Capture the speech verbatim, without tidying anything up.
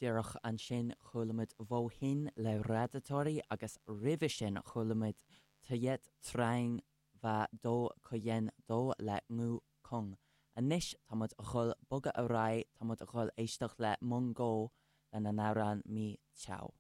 Díreach ansin chuala muid Vô Hình le Radiatori agus roimhe sin chuala muid Tuyết Trắng và Do Có Yen Do le Ngô Công. Anois tá muid ag dul bogadh ar aghaidh tá muid ag dul éisteacht le Mongó lena n-amhrán Mỹ Châu.